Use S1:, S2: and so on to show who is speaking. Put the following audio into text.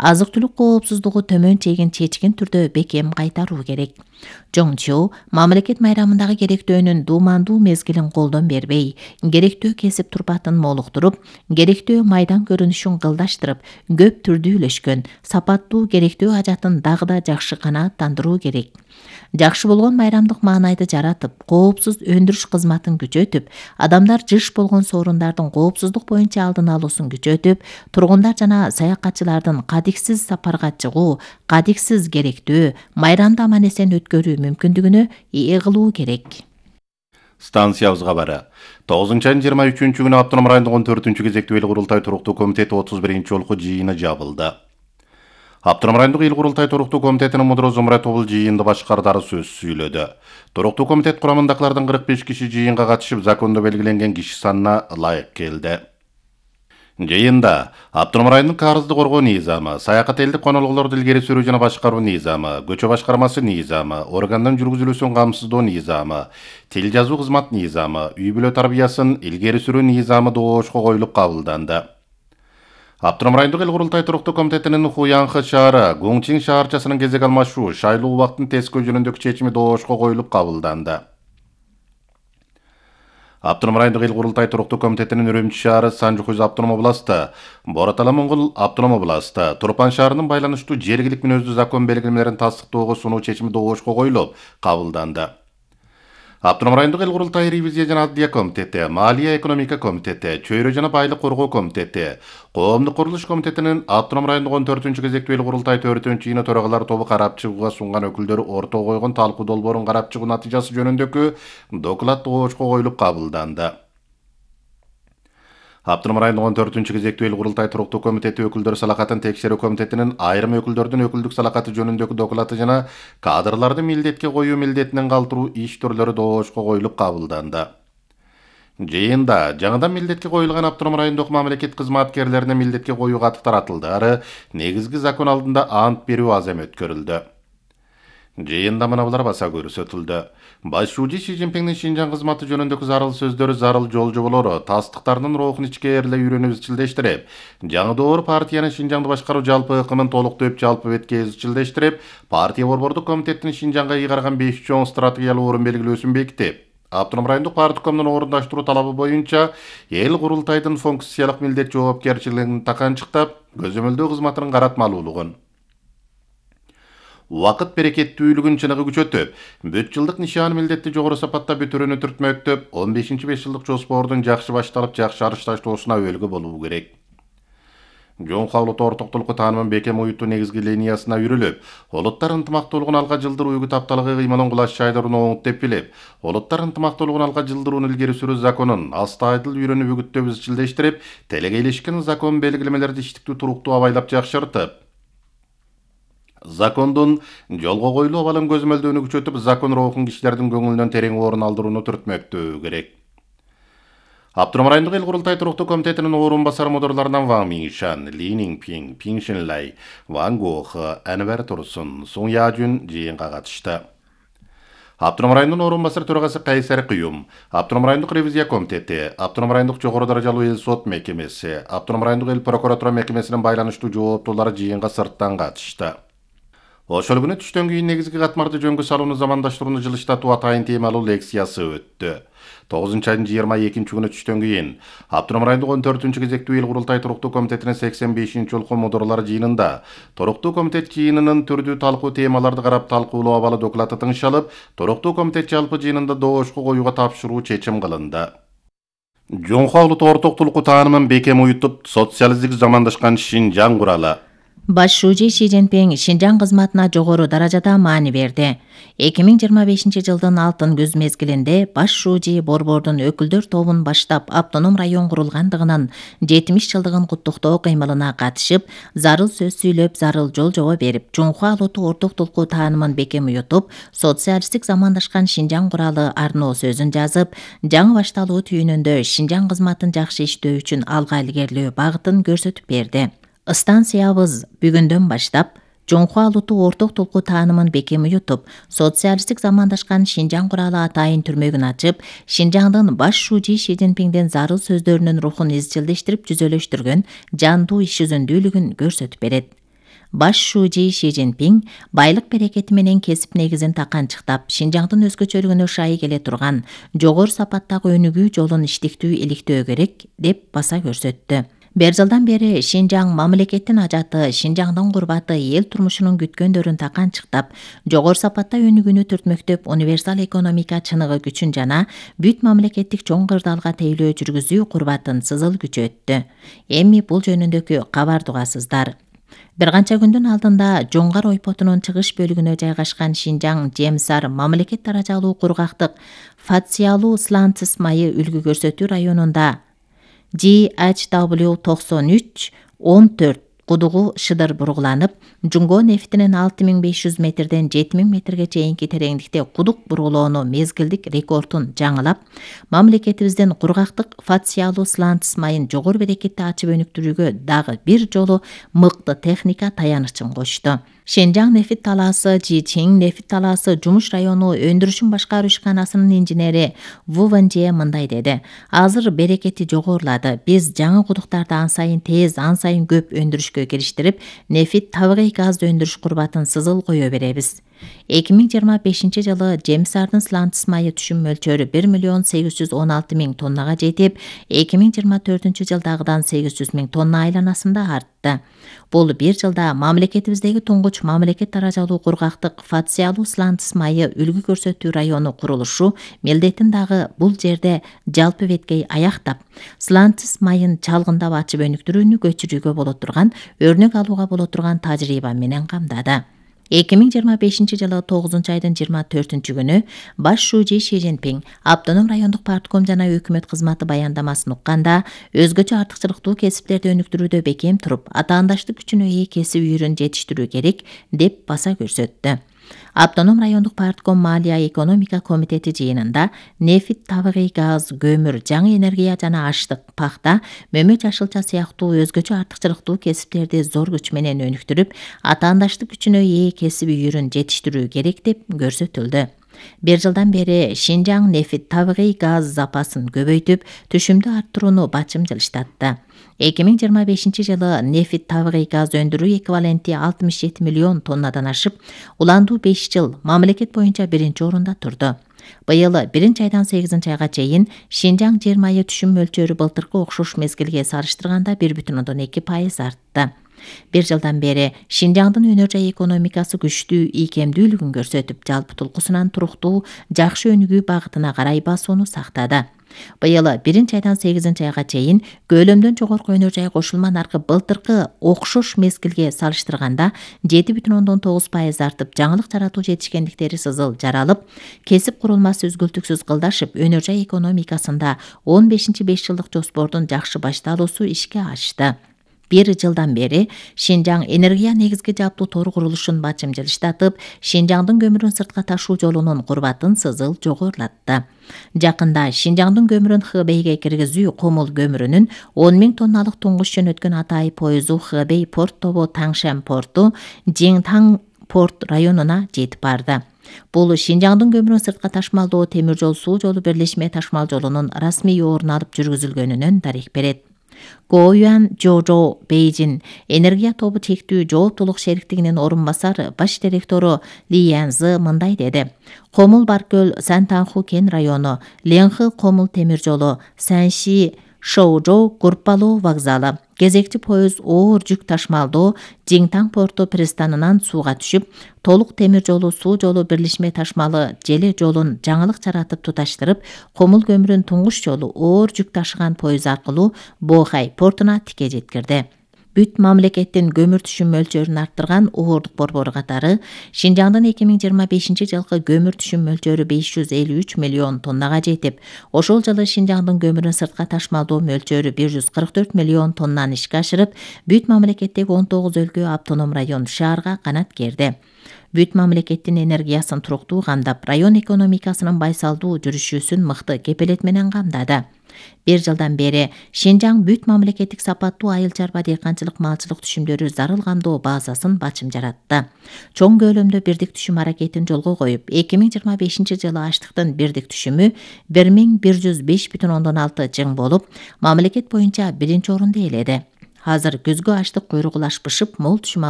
S1: азык-түлүк коопсуздугу төмөн чегин чечкен түрдө бекем кайтаруу керек. Жоңчу мамлекет майрамындагы керектөөнүн дуумандуу мезгилин колдон бербей, керектөө кесип турпатын молуктуруп, керектөө майдан көрүнүшүн кылдаштырып, көп түрдүүлөшкөн, сапаттуу керектөө ажатын дагы да жакшы канааттандыруу керек. Жакшы болгон майрамдык маанайды жаратып, коопсуз өндүрүш кызматын күчөтүп, адамдар жыш болгон соорундардын коопсуздук боюнча алдын алуусун күчөтүп, тургундар жана саякатчылардын кадиксиз сапарга чыгуу, кадиксиз керектөө, майрамды аман-эсен өткөрүү мүмкүндүгүнө ээ кылуу керек.
S2: Станциябыз кабары. 9-айдын 23-күнү Автоном райондук 14-күн кезектүү эл курултай туруктуу комитети 31-чи жолку жыйыны жабылды. Автоном райондук эл курултай туруктуу комитетинин мудуру Зумрай Тобул жыйынды башкардары сөз сүйлөдү. Туруктуу комитет курамындагылардын 45 киши жыйынга катышып, закондо белгиленген киши санына ылайык келди. Жыйында Автоном районунун карызды коргоо низамы, саякат элдик конолгулорду илгери сүрүү жана башкаруу низамы, көчө башкармасы низамы, органдын жүргүзүлүүсүн камсыздоо низамы, тил жазуу кызмат низамы, үй-бүлө тарбиясын илгери сүрүү низамы доошко коюлуп кабылданды. Автоном райондук эл курултай туруктуу комитетинин Хуянхы шаары, Гуңчин шаарчасынын кезек алмашуу, шайлоо убактын тескөө жөнүндөгү чечими доошко коюлуп кабылданды. Автоном райондук эл курултай туруктуу комитетинин Үрүмчү шаары, Санжукуз автоном областы, Боратала Моңгол автоном областы, Турпан шаарынын байланыштуу жергилик мүнөздүү закон белгилемелерин тастыктоого сунуу чечими доошко коюлуп кабылданды. Автоном райондук эл курултай ревизия жана аддия комитети, Малия экономика комитети, Чөйрө жана байлык коргоо комитети, Коомдук курулуш комитетинин Автоном райондук 14-күн кезектүү эл курултай 4-күн жыйыны төрагалар тобу карап чыгууга сунган өкүлдөрү ортого койгон талкуу долбоорун карап чыгуу натыйжасы жөнүндөгү доклад доошко коюлуп кабылданды. Автоном райондук 14-күн кезектүү эл курултай туруктуу комитети өкүлдөр салакатын текшерүү комитетинин айрым өкүлдөрдүн өкүлдүк салакаты жөнүндөгү доклаты жана кадрларды милдетке коюу милдетинен калтыруу иш түрлөрү доошко коюлуп кабылданды. Жыйында жаңыдан милдетке коюлган Автоном райондук мамлекет кызматкерлерине милдетке коюу каты таратылды, ары негизги закон алдында ант берүү азем өткөрүлдү. Жыйында мыналар баса көрсөтүлдү. Башчы Си Цзиньпиңдин Шинжаң кызматы жөнүндөгү зарыл сөздөрү, зарыл жол жоболору, тастыктардын рухун ичке эрле үйрөнүп изчилдештирип, жаңы доор партиянын Шинжаңды башкаруу жалпы ыкымын толуктоп жалпы бетке изчилдештирип, партия борбордук комитеттин Шинжаңга ыйгарган 5 чоң стратегиялуу орун белгилөөсүн бекитип, Автоном райондук парткомдун орундаштыруу талабы боюнча эл курултайдын функциялык милдет жоопкерчилигин таканчыктап, көзөмөлдөө кызматынын каратмалуулугун, убакыт берекеттүүлүгүн чыныгы күчөтүп, бүт жылдык нишан милдетти жогору сапатта бүтүрүүнү түртмөктөп, 15-5 жылдык жоспордун жакшы башталып, жакшы арыш таштоосуна өбөлгө болуу керек. Жоңку улуттуу ортоктулукку таанымын бекем уюттуу негизги линиясына үрүлүп, улуттар ынтымактуулугун алга жылдыруу үгүт тапталыгы кыймылын кулаш чайдыруун оңут деп билип, улуттар ынтымактуулугун алга жылдырууну илгери сүрүү законун астайдыл үйрөнүп үгүттөп изчилдештирип, телегейлешкен закон белгилемелерди иштиктүү туруктуу абайлап жакшыртып, закондун жолго коюлуу абалын көзөмөлдөөнү күчөтүп, закон рухун кишилердин көңүлүнөн терең орун алдырууну түртмөктөө керек. Автоном райондук эл курултай туруктуу комитетинин орун басар мудурларынан Ван Миншан, Ли Ниңпиң, Пиң Шинлай, Ван Гохы, Анвер Турсун, Сун Яжун жыйынга катышты. Автоном районунун орун басар төрагасы Кайсар Кыюм, Автоном райондук ревизия комитети, Автоном райондук жогору даражалуу эл сот мекемеси, Автоном райондук эл прокуратура мекемесинин байланыштуу жооптуулары жыйынга сырттан катышты. Ошол күнү түштөн кийин негизги катмарды жөнгө салууну замандаштырууну жылыштатуу атайын темалуу лекциясы өттү. 9-айдын 22-күнү түштөн кийин Автоном райондук 14-күн кезектүү эл курултай туруктуу комитетинин 85-ci жолку мудурлар жыйынында туруктуу комитет жыйынынын түрдүү талкуу темаларды карап талкуулоо абалы доклаты тыңшалып, туруктуу комитет жалпы жыйынында доошко коюуга тапшыруу чечим кылынды. Жоңку улуттуу ортоктулукку таанымын бекем уютуп, социалисттик замандашкан Шинжаң куралы.
S1: Башчы Си Цзиньпиң Шинжаң кызматына жогору даражада маани берди. 2025-жылдын алтын күз мезгилинде башчы борбордун өкүлдөр тобун баштап автоном район курулгандыгынын 70 жылдыгын куттуктоо кыймылына катышып, зарыл сөз сүйлөп, зарыл жол жобо берип, жоңку улуттуу ортоктулукку таанымын бекем уютуп, социалисттик замандашкан Шинжаң куралы арноо сөзүн жазып, жаңы башталуу түйүнүндө Шинжаң кызматын жакшы иштөө үчүн алга илгерилөө багытын көрсөтүп берди. Станциябыз бүгүндөн баштап жоңку улуттуу ортоктулукку таанымын бекем уютуп, социалисттик замандашкан Шинжаң куралы атайын түрмөгүн ачып, Шинжаңдын башчы Си Цзиньпиңдин зарыл сөздөрүнүн рухун изчилдештирип жүзөлөштүргөн жандуу иш жүзүндүүлүгүн көрсөтүп берет. баш шужи Ши Цзиньпин байлык берекети менен кесип негизин таканчыктап, Шинжаңдын өзгөчөлүгүнө шай келе турган жогору сапаттагы өнүгүү жолун иштиктүү иликтөө керек деп баса көрсөттү. Бир жылдан бери Шинжаң мамлекеттин ажаты, Шинжаңдын курбаты эл турмушунун күткөндөрүн таканчыктап, жогору сапатта өнүгүүнү түртмөктөп, универсал экономика чыныгы күчүн жана бүт мамлекеттик чоң кырдаалга тейлөө жүргүзүү курбатын сызыл күчөттү. Эми бул жөнүндөгү кабарды угасыздар. Бир канча күндүн алдында Жоңгар ойпотунун чыгыш бөлүгүнө жайгашкан Шинжаң Жемсар мамлекет даражалуу кургактык Фациалуу сланцыз майы үлгү көрсөтүү районунда GHW93-14 кудугу шыдыр бургуланып, Жунго нефтинин 6500 метрден 7000 метрге чейинки тереңдикте кудук бургулоону мезгилдик рекордун жаңылап, мамлекетибиздин кургактык Фациалуу сланцыз майын жогору берекетти ачып өнүктүрүүгө дагы бир жолу мыкты техника таянычын кошту. Шинжаң нефт талаасы, Жичиң нефт талаасы жумуш району өндүрүшүн башкаруу ишканасынын инженери Ву Вэнжэ мындай деди: азыр берекети жогорулады. Биз жаңы кудуктарды ан сайын тез, ан сайын көп өндүрүшкө кириштирип, нефт табигый газды өндүрүш курбатын сызыл кое беребиз. 2025 жылы Жемсардын сланцыз майы түшүм мөлчөрү 1.816.000 тоннага жетип, 2024 жылдагыдан 800.000 тонна айланасында артты. Бул бир жылда мамлекетибиздеги туңгуч мамлекет даражалуу кургактык Фациалуу сланцыз майы үлгү көрсөтүү району курулушу милдетин дагы бул жерде жалпы беткей аяктап, сланцыз майын чалгындап ачып өнүктүрүүнү көчүрүүгө боло турган, өрнөк алууга боло турган тажрыйба менен камдады. 2025 жылы 9 айдын 24 күнү баш шужи Ши Цзиньпин автоном райондук партком жана өкмөт кызматы баяндамасын укканда, өзгөчө артыкчылыктуу кесиптерди өнүктүрүүдө бекем туруп, атаандаштык күчүнө ээ кесип үйүрүн жетиштирүү керек деп баса көрсөттү. Автоном райондук партком Малия экономика комитети жыйынында нефт, табигый газ, көмүр, жаңы энергия жана аштык, пахта, мөмө жашылча сыяктуу өзгөчө артыкчылыктуу кесиптерди зор күч менен өнүктүрүп, атаандаштык күчүнө ээ кесип үйүрүн жетиштирүү керек деп көрсөтүлдү. Бир жылдан бери Шинжаң нефт, табигый газ запасын көбөйтүп, түшүмдү арттырууну бачым жылыштатты. 2025 жылы нефт, табигый газ өндүрүү эквиваленти 67 миллион тоннадан ашып, уландуу 5 жыл мамлекет боюнча биринчи орунда турду. Быйыл 1 айдан 8 айга чейин Шинжаң жер майы түшүм мөлчөрү былтыркы окшош мезгилге салыштырганда 1,2% артты. Бир жылдан бери Шинжаңдын өнөр жай экономикасы күчтүү ийкемдүүлүгүн көрсөтүп, жалпы тулкусунан туруктуу, жакшы өнүгүү багытына карай басууну сактады. Быйыл 1 айдан 8 айга чейин көлөмдөн жогорку өнөр жай кошулма наркы былтыркы окшош мезгилге салыштырганда 7,9% артып, жаңылык жаратуу жетишкендиктери сызыл жаралып, кесип курулмасы үзгүлтүксүз кылдашып, өнөр жай экономикасында 15-5 жылдык жоспордун жакшы башталуусу ишке ашты. Бир жылдан бери Шинжаң энергия негизги жаптуу тору курулушун бачым жылыштатып, Шинжаңдын көмүрүн сыртка ташуу жолунун курбатын сызыл жогорулатты. Жакында Шинжаңдын көмүрүн Хэбэйге киргизүү Комул көмүрүнүн 10.000 тонналык туңгуч жөнөткөн Атай поезу Хэбэй порт тобу Таңшен порту Жиңтаң порт районуна жетип барды. Бул Шинжаңдын көмүрүн сыртка ташмалдоо темир жол суу жолу бирлешме ташмал жолунун расмий орун алып жүргүзүлгөнүнөн дарек берет. Гоюан Жожо Бейжин энергия тобу чектүү жооптулук шериктигинин орун басары баш директору Ли Янзы мындай деди: Комул Баркөл Сантанху кен району, Ленхы Комул темир жолу, Санши Шоужо Гурпалоо вокзалы, кезекчи поезд оор жүк ташмалдоо Жиңтаң порту пристанынан сууга түшүп, толук темир жолу суу жолу бирлешме ташмалы желе жолун жаңылык жаратып туташтырып, Комул көмүрүн туңгуч жолу оор жүк ташыган поезд аркылуу Бохай портуна тике жеткирди. Бүт мамлекеттин көмүр түшүм мөлчөрүн арттырган Уурдук борбору катары Шинжаңдын 2025 жылкы көмүр түшүм мөлчөрү 553 миллион тоннага жетип, ошол жылы Шинжаңдын көмүрүн сыртка ташмалдоо мөлчөрү 144 миллион тоннаны ишке ашырып, бүт мамлекеттеги 19 өлкө автоном район шаарга канат керди. Бүт мамлекеттин энергиясын туруктуу камдап, район экономикасынын байсалдуу жүрүшүүсүн мыкты кепилет менен камдады. Бир жылдан бери Шинжаң бүт мамлекеттик сапаттуу айыл чарба дыйканчылык малчылык түшүмдөрү зарыл камдоо базасын бачым жаратты. Чоң көлөмдө бирдик түшүм аракетин жолго коюп, 2025 жылы аштыктын бирдик түшүмү 1105,6 жың болуп, мамлекет боюнча биринчи орунду ээледи. Азыр күзгү аштык куйругулашпышып, мол түшүм